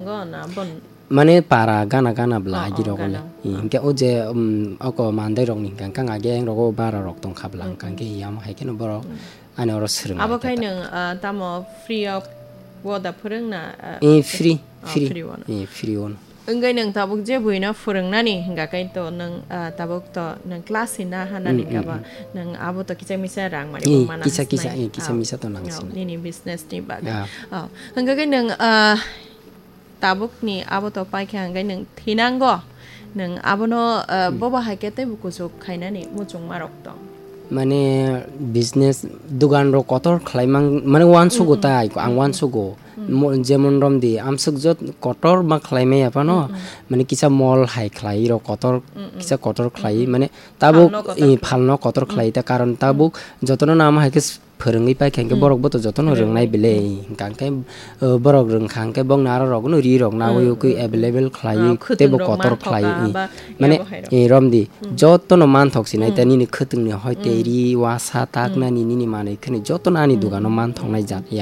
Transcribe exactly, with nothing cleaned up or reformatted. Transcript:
Go na bon. Mane para gana gana bla Oh, agi oh, rok le. Gana. Hmm, hingke o je, um, oko mandai rok ni hingka hingka age ang rogo bara rok tong kha bla hingka hingke yam hai khe no borok ani oro swrwng Abo lai khai kha ta. Nwng, ah, tamo free of wo da phwrwng na, ah, Eh, free, oh, free. Free wo no. Eh, free wo no. Wngwi nwng tabuk je buino phwrwngnani hingka khai to nwng, ah, tabuk to nwng class hina hanani hingka ba nwng abo to kisa misa rang mani Eh, bo mana kisa kisa, hasnai. Eh, kisa misa to nang sina. Nini business ni bagwi. Ah. Oh, hingka khai nwng, ah, tabukni abo to paikha hingke nwng thinango, nwng abono, uh, bobo hai khe teibo kuchuk khainani muchungmarok tong. Mane business dogan rok kotor khlai mang, mane uansugo tai, ang uansugo. Mo-, jemon romdi, amswk jot kotor ma khlai maya phano, mane kisa mall hai khlai rok kotor, kisa kotor khlai, mane tabuk phalno kotor i khlai. Phalno kotor khlai ta, karon tabuk jotono nama hai khe phwrwngwi paikha hwnkhe borok bo to jotono rwngnai belai. Hwnkha hwnkhe, uh, borok rwngkha hwnkhe bongni aro rokno ri rok nawi ukui available khlaiwi teibo kotor khlaiwi. Mane, eh, romdi, jotono manthok sinai ta nini khwtwngni hoite ri wasa taknani nini manwi khwni jotono ani dogano manthoknai jat ya.